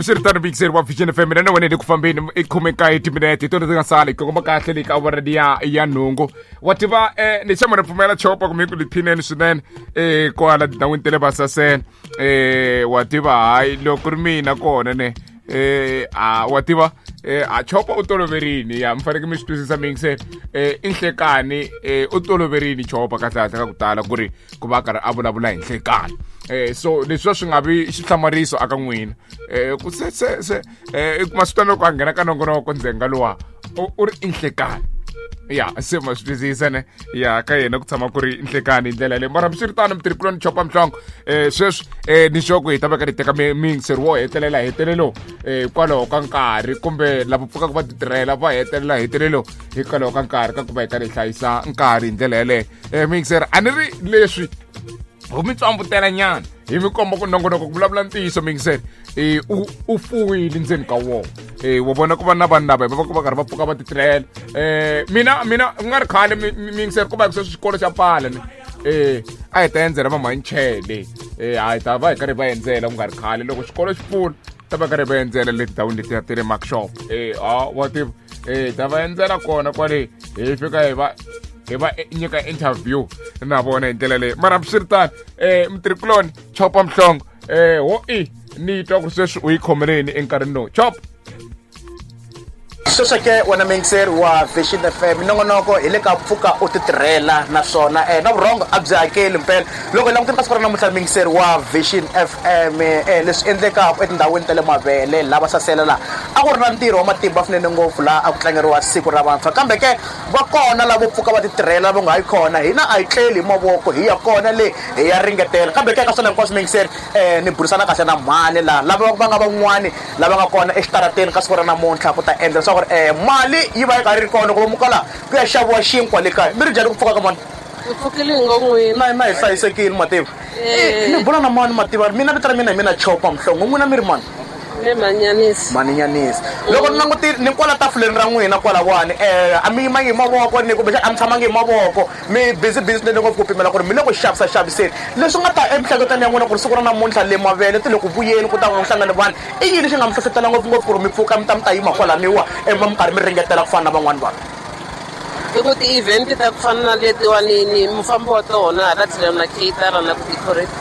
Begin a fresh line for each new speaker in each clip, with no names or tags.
Hambiswiritano, muyingiseri wa Vision FM, mina na wena hi le ku fambeni. I 19 timinete hi tona ti nga sala hi kongoma kahle le ka awara liya ya 8. Wa tiva, ni xama ni pfumela chopa kumbe ku liphineni swinene kwala tindhawini ta le Vasasele. Wa tiva, hayi, loko ri mina kona ne, a wa tiva, a chopa u toloverini ya mi fanekele mi swi twisisa, muyingiseri. I nhlekani, u toloverini chopa kahle kahle ka ku tala ku ri ku va karhi a vulavula hi nhlekani. So leswiwa swi nga vi xihlamariso aka n'wina, ku se se se i kuma swi twana loko a nghena ka nongonoko ndzenga luwa u ri i nhlekani ya se ma swi twisisa ne, ya ka yena ku tshama ku ri nhlekani hi ndlela leyi. Mara hambiswiritano, mutirhikuloni Chopa Mhlongo, sweswi ni sure ku hi ta va ka hi teka miyingiseri wo hetelela hetelelo, hikwalaho ka nkarhi, kumbe lava pfukaka va titirhela va hetelela hetelelo hikwalaho ka nkarhi, ka ku va hi karhi hi hlayisa nkarhi hi ndlela yeleyo. Miyingiseri, a ni ri leswi ho mi tswambutela nyana, hi mi komba ku nongonoko ku vulavula ntiyiso, miyingiseri, u fuwile ndzeni ka wona. Wa vona ku va na vanhu lava va va karhi va pfuka va titirhela. Mina ku nga ri khale, miyingiseri, ku va hi sweswi xikolo xa pfala ni a hi ta endzela vamanchele. A hi ta va hi karhi va endzela ku nga ri khale loko xikolo xi pfula, ta va karhi va endzela le tindhawini letiya ti le workshop. A wa tiva, ta va endzela kona kwale, hi fika hi va nyika interview na vona hi ndlela leyi. Mara hambiswiritano, mutirhikuloni Chopa Mhlongo, ho i ni twa ku sweswi u yi khomeleni enkarhini lowu, Chop?
Sweswo ke, wena muyingiseri wa Vision FM, nongonoko hi le ka Pfuka u Titirhela, naswona na vurhongo a byi hakeli mpela. Loko hi langutile ka siku ra namuntlha, muyingiseri wa Vision FM, leswi endlekaka etindhawini ta le mavele lava sasela laha a ku ri na ntirho wa matimba swinene ngopfu laha a ku tlangeriwa Siku ra Vantshwa, kambe ke va kona lavo pfuka va titirhela va nga yi kona. Hina a hi tleli hi mavoko, hi ya kona le hi ya ringetela. Kambe ke ka swona hinkwaswo, muyingiseri, ni burisana kahle na mhani laha, lava va nga van'wani lava nga kona exitarateni ka siku ra namuntlha ku ta endla leswaku ri mali yi va yi karhi ri kona ku va muka laha ku ya xaviwa xinkwa le kaya. Mi ri njhani ku pfuka ka mani?
Hi pfukile hi ngo n'wina.
Na hi hlayisekile, mativa. Ni bula na mani, mativa? Mina vito ra mina hi mina Chopa Mhlongo. N'wina mi ri mani?
Me Manyanisi.
Manyanisi, loko ni langutile ni kwala tafuleni ra n'wina kwalawani, a mi yimangi hi mavoko ni kumbexana a mi tshamangi hi mavoko, mi busy busy swinene ngopfu ku pimela ku ri mi le ku xavisa xaviseni. Leswi nga ta emihleketweni ya n'wina ku ri siku ra namuntlha le mavele ti le ku vuyeni ku ta ku hlangana vanhu, i yini xi nga mi hlohlotela ngopfungopfu ku ri mi pfuka mi ta yima kwalaniwa, mi karhi mi ringetela ku fana na van'wani vanhu?
I ku ti-event ta ku fana na letiwani ni mufambi wa tona hala tlhelo na caterer na ku decorate.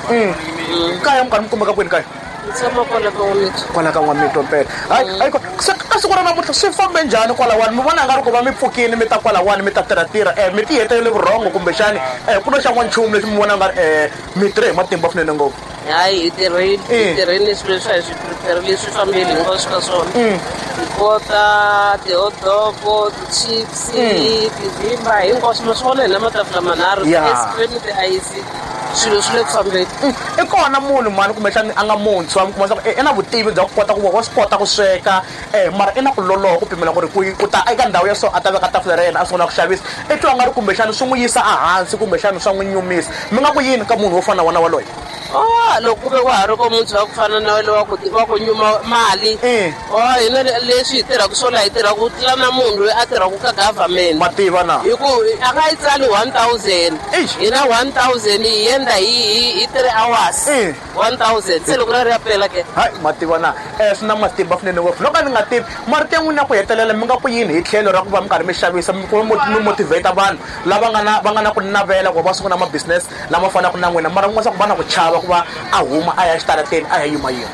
Kaya mi karhi mi kumeka kwini kaya?
Ni tshama kwala ka N'wamitwa.
Kwala ka N'wamitwa mpela. Hayi, ayiko se ka siku ra namuntlha swi fambe njhani kwalawani? Mi vona nga ri ku va mi pfukile mi ta kwalawani mi ta tirhatirha, mi ti hetelele vurhongo, kumbexani ku no xaviwa nchumu lexi mi vona nga ri mi tirhe hi matimba swinene ngopfu?
Hayi, hi tirhile, hi tirhile. Swilo leswi a hi swi prepare leswi fambile hinkwaswo ka swona, hi kota ti-hotdog, ti-chips, tivhimba, hinkwaswo ma swi vona hi na matafula manharhu, ti-ice cream, ti-ice, swilo swi le ku fambeni.
I kona munhu mani kumbexani a nga muntshwa, mi kuma leswaku i na vutivi bya ku kota ku wa swi kota ku sweka, mara i na ku loloha ku pimela ku ri ku ta eka ndhawu ya so a ta veka tafula ra yena a sungula ku xavisa, i twa nga ri kumbexani swi n'wi yisa ehansi kumbexani swa n'wi nyumisa, mi nga ku yini ka munhu wo fana na wona waloye?
Oh, loko ku ve wa ha ri ko muntshwa wa ku fana na wele wa ku nyuma mali, oh, hina leswi hi tirhaka swona, hi tirhaka ku tlula na munhu loyi a tirhaka ka government.
Mativa na.
Hi ku a nga yi tsali 1000.
Eish.
Hina 1000 hi endla hi 3 hours. 1000 se loko ra ri ya pela ke.
Hayi, mativa na, swi na matimba swinene ngopfu. Loko a ni nga tivi marito ya n'wina ya ku hetelela, mi nga ku yini hi tlhelo ra ku va mi karhi mi xavisa, mi ku mi motivate vanhu lava nga na ku navela ku va va sungula ma business lama fanaka na n'wina, mara ku nga ku va na ku chava ku va a huma a ya xitarateni a ya yima yima?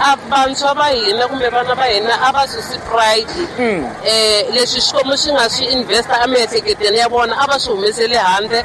A vantshwa va hina kumbe vana va hina a va susi pride. Leswi Xikwembu xi nga swi investa emiehleketweni ya vona, a va swi humeseli handle.